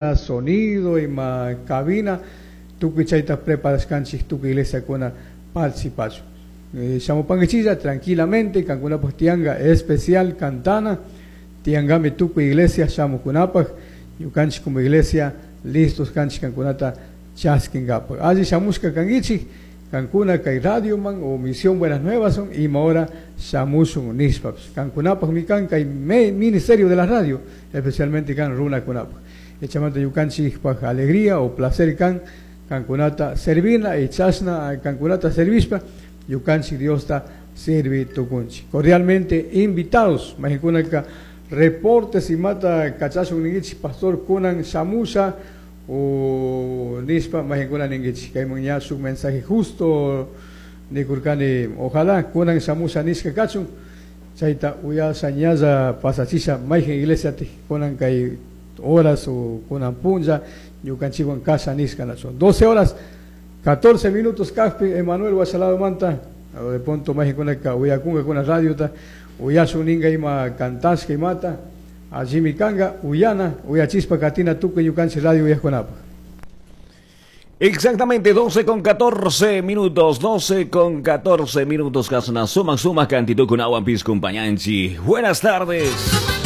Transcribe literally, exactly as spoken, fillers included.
Sonido ima cabina tukuy chayta preparashkanchik tukuy iglesiakuna participachun. Eh, shamupankichilla tranquilamente, kankunapaq tiyanka especial cantana, tiyankami tukuy iglesia shamukunapaq, ñukanchik como iglesia listos kanchik kankunata chaskinkapak. Alli shamushka kankichik, kankuna kay radioman o Misión Buenas Nuevas son ima hora shamushun nishpapish. Kankunapaqmi kan kay ministerio de la radio, especialmente kan runakunapaq. Echamanta ñukanchikpaq alegría o placer kan kankunata servina y chashna kankunata servishpa ñukanchik Diosta sirvi tukunchik. Cordialmente invitados, mayqinkunaka reportes imata kachashun ninkichik, "Pastor, kunan shamusha" o nishpa mayqinkuna ninkichik, kayman ña shuk mensaje justo nikurkani, ojalá kunan shamusha nishka kachun, chayta uyasha ñalla pasachisha mayqin iglesia kunan kay horas o kunan punlla ñukanchikwan kasha nishka nachun. doce horas catorce minutos kajpi Emanuel washalado manta de pronto mayqinkunaka uyakunkakuna radiota uyashun ninka ima cantashka imata allimi kanka uyana uyachispa katina tukuy ñukanchik radio uyajkunapaq. Exactamente, doce con catorce minutos, doce con catorce minutos, Kasna, suma, suma, cantito con agua, piscumpañanchi. Buenas tardes.